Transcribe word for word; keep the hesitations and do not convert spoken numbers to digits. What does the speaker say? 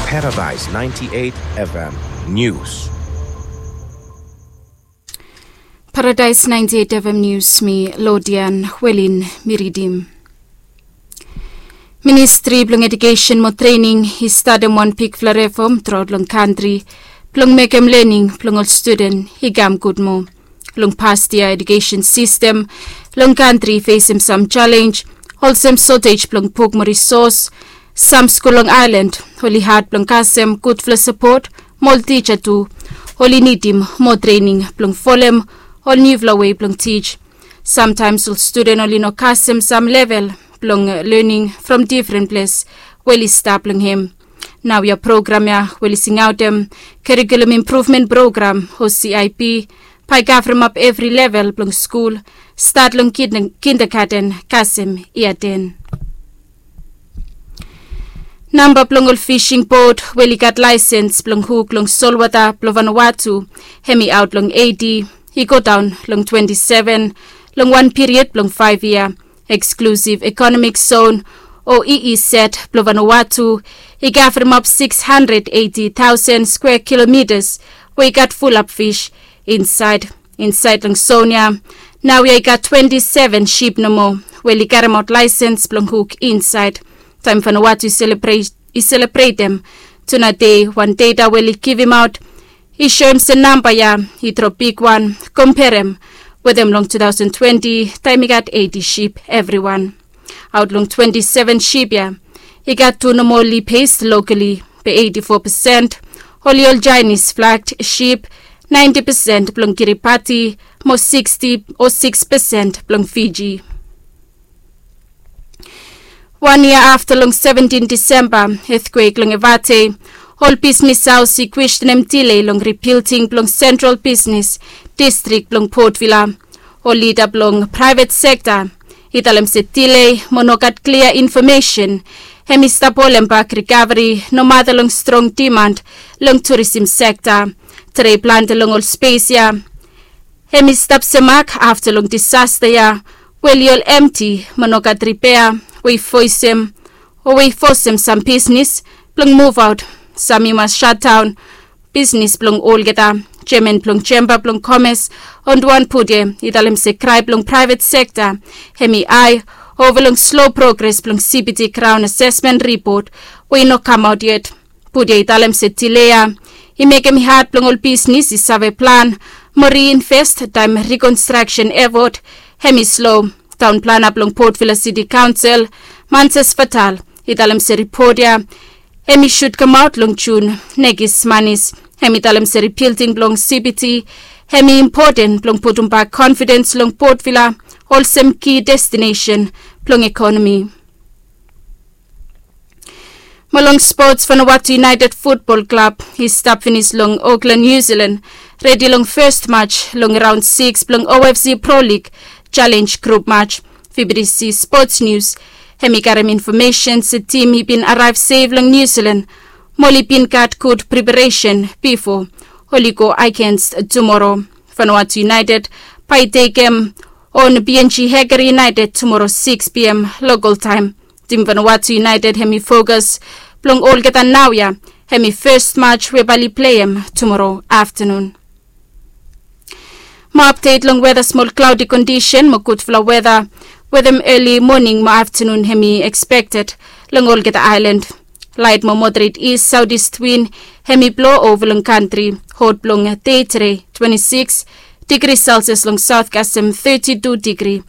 Paradise ninety-eight F M News. Paradise ninety-eight F M News, mi Lodian Welin mi ridim. Ministri blong Edukesen mo Trening i statem wan bigfala refom truaot long kantri blong mekem lening blong ol studen i kam gud moa. Long past yia, edukesen sistem long kantri i fesem sam jalenj, olsem sotej blong buk mo risos. Sam skul long aelan oli had blong kasem gudfala sapot, mo ol tija tu oli nidim mo trening blong folem ol niufala wei blong tij. Samtaems ol studen oli no kasem sam level blong lening from difren ples we oli stap long hem. Naoia program ya we oli singaotem Curriculum Improvement Program o C I P bae i kavremap evri level blong skul, stat long kindergaten kasem yia ten. Namba blong ol fising bot we oli gat laesens blong huk long solwota blong Vanuatu, hem i aot long eiti i godaon long twenti seven long wan piriod blong faef yia. Eksklusiv Ekonomik Zon o E E Z blong Vanuatu i kavremap sikis handred eiti taosen skwea kilomitas we i gat fulap fis insaed. Insaed long zon ya naoia i gat twenti seven sip nomo we oli karemaot laesens blong huk insaed. Taem Vanuatu i selebretem Tuna Dei, wan data we oli givimaot i soem se namba ya i drop bigwan komperem wetem long tu taosen twenti, taem i gat eiti sip evriwan. Aot long twenti seven sip ya i gat tu nomo oli pes lokali, be eiti fo pesen oli ol Jaenis flag sip, naenti pesen blong Kiribati, mo siksti o siks pesen blong Fiji. Wan yia afta long seventin Disemba etkwek long Evate, ol bisnis haos i kwestenem dile long ribilding blong sentral bisnis distrik blong Port Vila. Ol lida blong praevet sekta i talem se dile mo no gat klia infomesen hem i stap holem bak rikaveri nomata long strong dimand long turisim sekta. Tre plante long ol spes ya hem i stap semak afta long disasta ya we oli ol emti mo no gat ripea, we i fosem o we i fosem sam bisnis blong muvaot. Sam i mas shatdaon bisnis blong olgeta. Jeaman blong Jemba blong Komes, Onduan Pute, i talem se krae blong praevet sekta hem i ae ova long slo progres blong C B D graon asesmen ripot we i no kamaot yet. Pute i talem se dile ya i mekem i had blong ol bisnis i save plan mo riinvest taem rikonstraksen efot hem i slo. Taon plana blong Port Vila Siti Kaonsel, Manses Fatal, i talem se ripot ya hem i sud kamaot long Jun. Nekis Manis hem i talem se ribilding blong C B D hem i impoten blong putumbak konfidens long Port Vila olsem ki destinesen blong ekonomi. Mo long spots, Vanuatu United Futbol Klab i stap finis long Auckland, Niu Silan, redi long fes maj long raon sikis blong O F C Pro League Jalenj grup maj. V B C Spots Nius hem i karem infomesen se tim i bin araev sef long Niu Silan mo oli bin gat gud preparesen bifo oli go agens tumoro. Vanuatu United bae i tekem on B N G Hekeri United tumoro sikis P M lokol taem. Tim Vanuatu United hem i fokas blong olgeta naoia hem i fes maj we bae oli pleim tumoro aftanun. Mo apdet long weta, smol klaodi kondisen mo gudfala weta wetem eli moning mo aftanun hem i ekspekted long olgeta aelan. Laet mo moderet is saodis win hem i blo ova long kantri. Hot blong dei tede twenti sikis digri Selsias long saot kasem teti tu digri.